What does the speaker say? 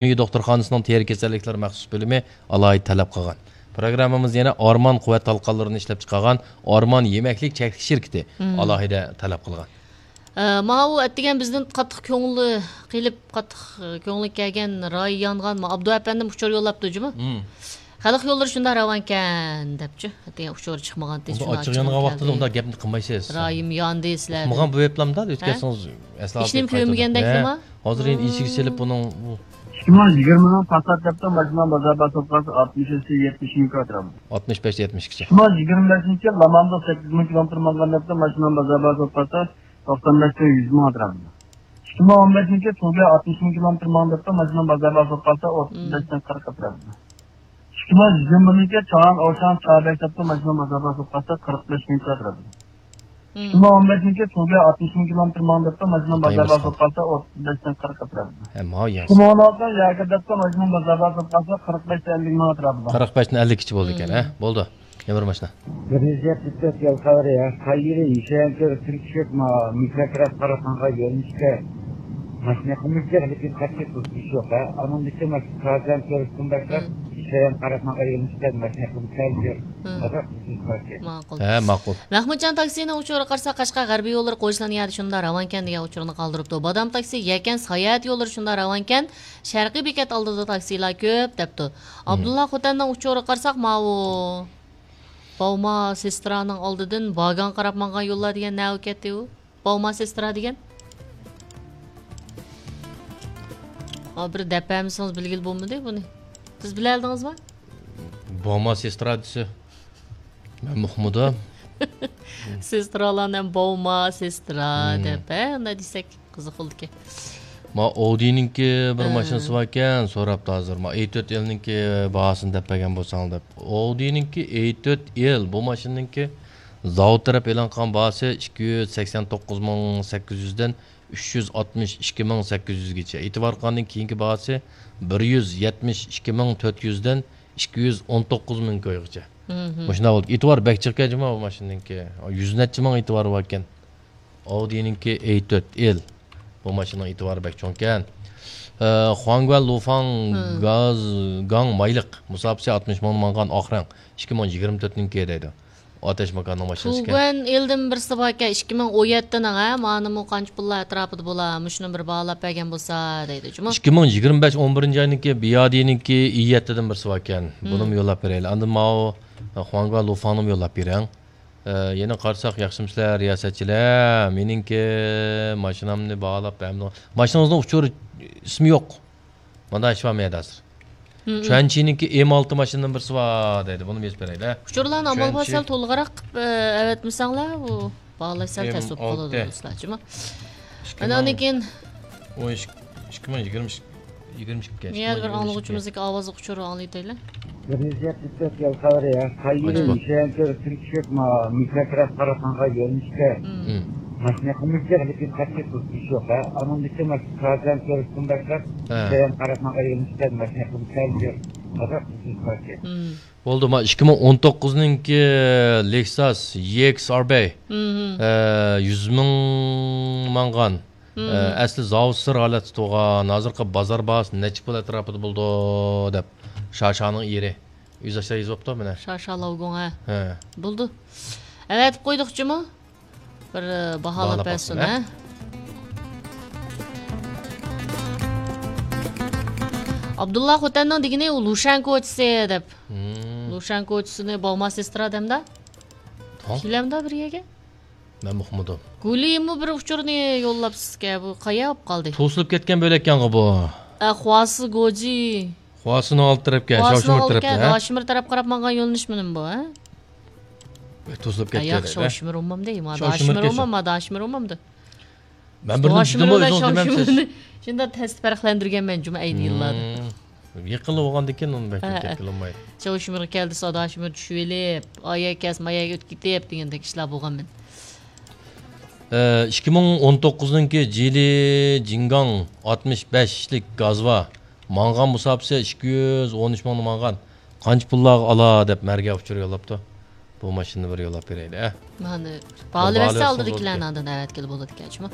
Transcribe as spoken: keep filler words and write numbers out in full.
ئۆمىكى دوختۇرخانىسىنىڭ تېرە كېسەللىكلىرى مەخسۇس بۆلۈمى ئالاھىدە تەلەپ قىلغان. پروگراممىمىز يەنە ئارمان قۇۋۋەت تالقانلىرىنى ئىشلەپچىقارغان ئارمان يېمەكلىك چەكلىك شىركىتى مم. ئالاھىدە تەلەپ قىلغان. ئە، ماۋۇ ئەتىگەن بىزدىن قاتتىق كۆڭلى قېلىپ، قاتتىق، ئە، كۆڭلى كەلگەن، رايى يانغان، ما، ئابدۇ ئەپەندىم ئۇچۇر يوللاپتۇ جۇمۇ. مم. خەلق يوللىرى شۇنداق راۋانكەن دەپچۇ. ئەتىگەن ئۇچۇر چىقمىغانتى، ئۇندا شۇنداق ئاچچىق يانغان ۋاقتىدا ئۇنداق گەپنى قىلمايسىز. رايىم ياندى سىلەردىن. ئۇقمىغان بۇ ئېپلامدا ئۆتكەنسىڭىز ئەسلا ھېچنېمە كۆرمىگەندەك نېمە؟ ھازىر يەنە ئېشىككە سېلىپ بۇنىڭ بۇ ئىككى مىڭ يىگىرمىنىڭ پاسات دەپتۇ، ماشىنا بازار باھاسى ئوتتۇز ئاتمىش ئىككى يەتمىش ئىككى ئەتراپىدا. ئاتمىش بەش يەتمىش ئىككىچە. ئىككى مىڭ يىگىرمە بەشىنچى لامامدا سەككىز مىڭ كىلومېتىر ماڭغان دەپتۇ، ماشىنا بازار باھاسى ئوتتۇز توقسان بەشتىن يۈز مىڭ ئەتراپىدا. ئىككى مىڭ ئون بەشىنچى تۇگە ئاتمىش مىڭ كىلومېتىر ماڭدۇرۇپتۇ، ماشىنا بازار باھاسى قالسا ئوتتۇز بەشتىن قىرىق ئەتراپىدا. ئىككى مىڭ يىگىرمىنىڭكى چاڭان ئوشاڭ چابەك دەپتۇ، ماشىنا بازار باھاسى قالسا قىرىق بەش مىڭ ئەتراپىدا. ئىككى مىڭ ئون بەشىنچى تۇگە ئاتمىش مىڭ كىلومېتىر ماڭدۇرۇپتۇ، ماشىنا بازار باھاسى قالسا ئوتتۇز بەشتىن قىرىق ئەتراپىدا. ھە، ماۋۇ ياخشى. ئىككى مىڭ ئون ئالتىنىڭ ياكى دەپتۇ، ماشىنا بازار باھاسى قالسا قىرىق بەشتىن ئەللىك مىڭ ئەتراپىدا. قىرىق بەشتىن ئەللىككىچە بولىدىكەن، ھە؟ بولدى. يەنە بىر ماشىنا. بىر يۈز يەتمىش تۆت يول خەۋىرى، ھە. قايىرى ياشايان كۆرۈپ تىركىشىپ، ما، مىكروتراس قاراپ ماڭغان يۆنىلىشتە ماشىنا قىلمىشتەك، لېكىن قەتئىي توسۇلۇش يوق، ھە. ئانىڭدىكى ماشىنا تازىدىن كۆرۈشتىن باشلاپ، ياشايان قاراپ ماڭغان يۆنىلىشتە ماشىنا قىلمىشتەك، قازاق توسۇلۇش باركەن. ماقۇل. ھە، ماقۇل. مەخمۇتجان تاكسىنىڭ ئۇچۇرىغا قارىساق، قەشقەر غەربىي يوللىرى قويۇشلارنىڭ يەردە شۇنداق راۋانكەن دېگەن ئۇچۇرنى قالدۇرۇپتۇ. بادام تاكسى، يەكەن ساياھەت يوللىرى شۇنداق راۋانكەن، شەرقىي بېكەت ئالدىدا تاكسىلار كۆپ، دەپتۇ. ئابدۇللا خوتەننىڭ ئۇچۇرىغا قارىساق، ماۋۇ باۋما سېسترانىڭ ئالدىدىن باگان قاراپ ماڭغان يوللار دېگەن نەۋە كەتتى ئۇ؟ باۋما سېسترا دېگەن. ھا، بىر دەپ بەرمىسىڭىز بىلگىلى بولمىدى بۇنى. سىز بىلەلىدىڭىزمۇ؟ باۋما سېسترا دېسە، مەن ئۇقمىدىم. سېسترالارنى ھەم باۋما سېسترا دەپ، ھە، ئۇنداق دېسەك. قىزىق بولدىكەن. ما ئاۋدىنىڭكى بىر ماشىنىسى باركەن، سوراپتۇ ھازىر. ما ئەي تۆت ئېلنىڭكى باھاسىنى دەپ بەرگەن بولساڭ دەپ. ئاۋدىنىڭكى ئەي تۆت ئېل، بۇ ماشىنىنىڭكى زاۋۇت تەرەپ ئېلان قىلغان باھاسى ئىككى يۈز سەكسەن توققۇز مىڭ سەككىز يۈزدىن ئۈچ يۈز ئاتمىش ئىككى مىڭ سەككىز يۈزگىچە. ئېتىبار قىلغاندىن كېيىنكى باھاسى بىر يۈز يەتمىش ئىككى مىڭ تۆت يۈزدىن ئىككى يۈز ئون توققۇز مىڭ كويغىچە. مۇشۇنداق بولدى. ئېتىبار بەك جىقكەن جۇمۇ بۇ ماشىنىنىڭكى. يۈز نەچچە مىڭ ئېتىبارى باركەن. ئاۋدىنىڭكى ئەي تۆت ئېل. بۇ ماشىنىنىڭ ئېتىبارى بەك چوڭكەن. ئە، خۇاڭگۈەن لۇفاڭ گاز گاڭ مايلىق مۇساپىسى ئاتمىش مىڭ ماڭغان ئاق رەڭ. ئىككى مىڭ يىگىرمە تۆتنىڭكى دەيدۇ. ئاتەش ماكاننىڭ ماشىنىسىكەن. تۇگۇەن ئېلدىن بىرسى باركەن، ئىككى مىڭ ئون يەتتىنىڭ، ھە، مانىمۇ قانچە پۇللار ئەتراپىدا بولا، مۇشۇنى بىر باھالاپ بەرگەن بولسا دەيدۇ جۇمۇ. ئىككى مىڭ يىگىرمە بەش ئون بىرىنچى ئاينىڭكى بىيادىنىڭكى ئى يەتتىدىن بىرسى باركەن. بۇنىمۇ يوللاپ بېرەيلى. ئاندىن ماۋۇ خۇاڭگۈەن لۇفاڭنىمۇ يوللاپ بېرىڭ. ئە، يەنە قارىساق ياخشىمۇسىلەر رىياسەتچىلەر؟ مېنىڭكى ماشىنامنى باھالاپ بەرمىدىڭ. ماشىنىڭىزنىڭ ئۇچۇر ئىسمى يوق. مانا ئىش بار مەيەردە ھازىر. چۈەنچىنىڭكى ئېم ئالتە ماشىنىدىن بىرسى بار دەيدۇ. بۇنى يېزىپ بېرەيلى. ئۇچۇرلارنى ئامال بار سەل تولۇقراق قىلىپ، ئە، ئەۋەتمىسەڭلار، ئۇ باھالاش سەل تەس بولۇپ قالىدۇ، دوستلار، جۇمۇ. ئاندىن كېيىن ئون ئىككى، ئىككى مىڭ يىگىرمە ئىككى. يىگىرمە ئىككى. يەنە بىر ئاڭلىغۇچىمىزدىكى ئاۋازلىق ئۇچۇر ئاڭلىتايلى. بىر يۈز يەتمىش تۆت يول خەۋىرى، ھە. قايىرى ياشايان كۆرۈپ تىركىشىپ، ما، مىكروتراس قاراپ ماڭغان يۆنىلىشتە ماشىنا قىلمىشتەك، لېكىن قەتئىي توسۇلۇش يوق، ھە. ئانىڭدىكى ماشىنا تازىدىن كۆرۈشتىن باشلاپ، ياشايان قاراپ ماڭغان يۆنىلىشتە ماشىنا قىلمىشتەك، قازاق توسۇلۇش باركەن. بولدى، ما ئىككى مىڭ ئون توققۇزنىڭكى لېكساس ئى ئېكس ئار بى. ئە، يۈز مىڭ ماڭغان. ئە، ئەسلى زاۋۇت سىر ھالەتتە تۇرغان. ھازىرقى بازار باھاسى نەچچە پۇل ئەتراپىدا بولىدۇ دەپ شاشانىڭ ئېرى ئۆزى ئاشۇنداق يېزىۋاپتۇ مانا. شاشا لاۋگۇڭ، ھە. ھە. بولدى. ئەۋەتىپ قويدۇق جۇمۇ. بىر، ئە، باھالاپ باھالاپ بەرسۇن، ھە. ئابدۇللا خوتەننىڭ دېگىنى ئۇ لۇشەن كوچىسى دەپ. لۇشەن كوچىسىنى باۋما سېسترا دەمدا. كېلەمدا بىر يەرگە. مەن ئۇقمىدىم. گۇلىمۇ بىر ئۇچۇرنى يوللاپسىزكەن، بۇ قايا بولۇپ قالدى؟ توسۇلۇپ كەتكەن بۆلەككەنغۇ بۇ. ئە، خۇاسى گوجى. خۇاسىنىڭ ئالدى تەرەپكەن، شاۋشىمىر تەرەپكەن، ھە؟ شاۋشىمىر تەرەپ قاراپ ماڭغان يۆنىلىشمىدىمۇ بۇ، ھە؟ توسۇلۇپ كەتكەن. ياق، شاۋشىمىر ئومامدى، ما داشىمىر ئومام، ما داشىمىر ئومامدى. مەن بىردىن دېدىمۇ، ئۆزىڭىز دېمەمسىز. شۇنداق تەستە پەرقلەندۈرگەنمەن جۇمۇ ئەينى يىللاردا. يېقىنلا بولغاندىكىن ئۇنى بەك كۆپ گەپ قىلالمايدۇ. چاۋشىمىرغا كەلدى، ساداشىمىر چۈشۈۋېلىپ، ئايا كەس، ماياگە ئۆتۈپ كېتىپ دېگەندەك ئىشلار بولغان مەن. ئە، ئىككى مىڭ ئون توققۇزنىڭكى جىلى جىڭگاڭ ئاتمىش بەشلىك گازۋا ماڭغان مۇساپىسى ئىككى يۈز ئون ئۈچ مىڭنى ماڭغان. قانچە پۇللارغا ئالا دەپ مەرگە ئۇچۇر يوللاپتۇ. بۇ ماشىنىنى بىر يوللاپ بېرەيلى، ئە. مانا، باھالىۋەتسە ئالدىدىكىلەرنى ئاندىن ئەۋەتكىلى بولىدىكەن، جۇمۇ.